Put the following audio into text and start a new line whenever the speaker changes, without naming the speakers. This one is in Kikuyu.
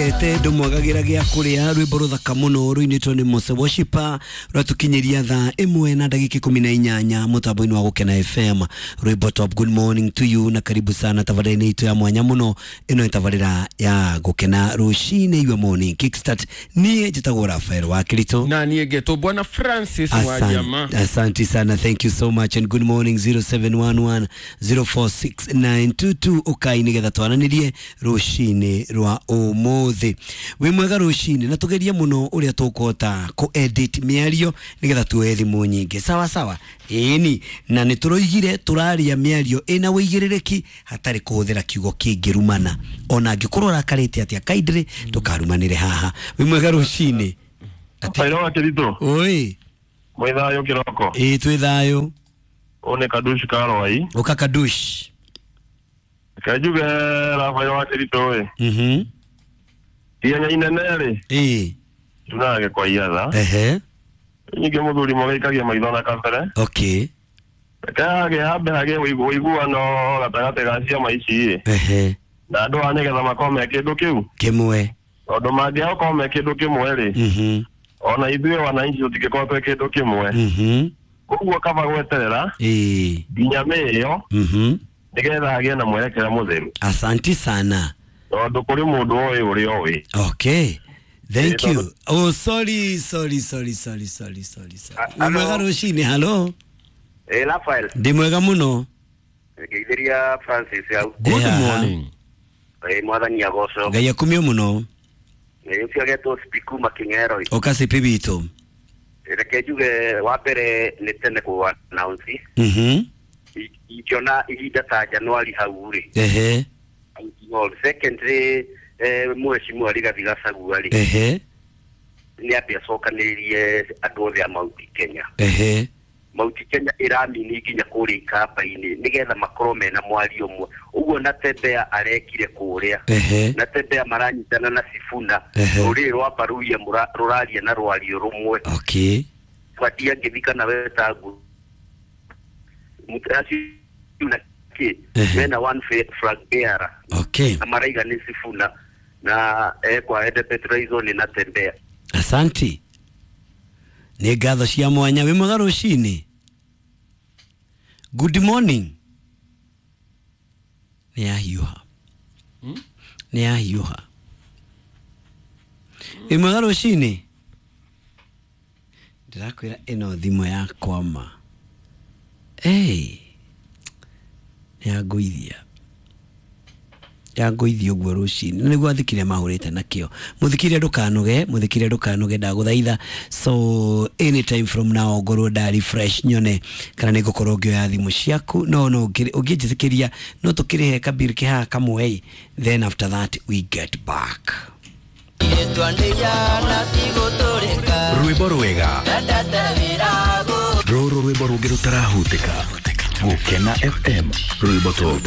Ete ndumwagagira gia kuria rwimbo ruthaka muno ruinitwo ni Mose Worshiper rwatukinyiria thaa imwe na ndagika 18 mutambo-ini wa Gukena FM. Rwimbo top, good morning to you na karibu sana tabarĩra-inĩ itũ ya mwanya muno. Ĩno nĩ tabarĩra ya Gukena rucini, your morning kickstart. Niĩ njĩtagwo Rafael wa Kirito
na niĩ ngetwo Bwana Francis Wajama.
Asante sana, thank you so much and good morning. 0711 046922 ukai nigetha twaranĩrie rũcinĩ rwa ũmũthĩ. Wĩ mwega rũcinĩ, na tũgerie mũno ũrĩa tũkũhota kũ edit mĩario nigetha tuoe thimũ nyingĩ. Sawa sawa, ĩni na nĩ tũroigire tũraria mĩario ĩna wĩigĩrĩrĩki hatarĩ kũhũthĩra kiugo kĩngĩrumana, ona angĩkorwo ũrakarĩte atĩa kaindĩrĩ ndũkarumanĩre haha. Wĩ mwega rũcinĩ.
Rafael wa Kirito.
Oi.
Mwĩ thayũ kĩroko?
Ĩĩ, twĩ thayũ.
Ũyũ nĩ Kadush Karwai.
Ũka Kadush.
Reke njuge Rafael wa Kirito ĩ. Ihenya inene rĩ.
Ĩĩ.
Tunaga kwa iatha.
Ehe.
Nyingĩ mũthuri mũgĩikagia maitho na kabere.
Okay.
Reke hage hambe hagĩe ũiguano gatagatĩ ga ciama ici ĩ.
Ehe.
Na andũ aya nĩgetha makorwo me kĩndũ kĩu.
Kĩmwe.
Tondũ mangĩaga gũkorwo me kĩndũ kĩmwe rĩ. Ona ithuĩ wananchi tũtingĩkorwo twĩ kĩndũ kĩmwe. Koguo kaba gweterera.
Ĩĩ.
Nginya mĩĩyo. Nĩgetha hagĩe na mwerekera mũtheru.
Asanti sana.
Tondũ kũrĩ mũndũ ũĩ ũrĩa ũĩ.
Okay. Thank you. Oh, sorry, sorry, sorry, sorry, sorry, sorry, sorry. Wĩ mwega rũcinĩ, hello.
Ĩ Rafael.
Ndĩ mwega mũno.
Ngeithĩria Francis hau.
Good
Haha.
morning.
Ĩ mwathani agocwo.
Ngai akumio mũno.
Ĩ ũcio agetwo Spiku Making'ero.
Ũka sipi witũ.
Reke njuge wa mbere nĩ tene kũ announce. Ingĩona ihinda ta Januari hau rĩ.
Ehe.
Secondly, mheshimiwa Rigathi Gachagua rĩ.
Ehe.
Nĩ ambe acokanĩrĩrie andũ othe a Mount Kenya.
Ehe.
Mount Kenya ĩramini nginya kũrĩa ikamba-inĩ nĩgetha makorwo mena mwario ũmwe. Ũguo na Tembea arekire kũrĩa.
Ehe.
Na Tembea maranyitana na Sifuna.
Ehe.
Rũrĩrĩ rwa Baruya rũraria na rwario rũmwe.
Okay.
Batia ngĩthi kana wetangu. Acio na kĩ
Ehe.
mena one flag bearer.
Okay.
Na maraiga nĩ Sifuna na ekwa ende Petraizo nĩ na Tembea.
Asanti. Nĩ ngatho cia mwanya. Wĩ mwega rũcinĩ. Good morning. Nĩ yahiũha. Nĩ yahiũha. Wĩ mwega rũcinĩ. Ndĩrakwĩra ĩno thimũ yakwa ma. Hey. Nĩ yangũithia. Yangũithia ũguo rũcinĩ. Na nĩguo athikire mahũrĩte nakĩo. Mũthikire ndũkanoge, mũthikire ndũkanoge, ndagũthaitha. So anytime from now ngorwo nda refresh nyone kana nĩ ngũkorwo ngĩoya thimũ ciaku. No no ũngĩnjĩtĩkĩria no tũkĩrĩhe kabiri kĩhaha kamwe, then after that we get back.
Rwĩmbo rwega rũrũ, rwĩmbo rũngĩ rũtarahutĩka. Gũkena FM, rwĩmbo top.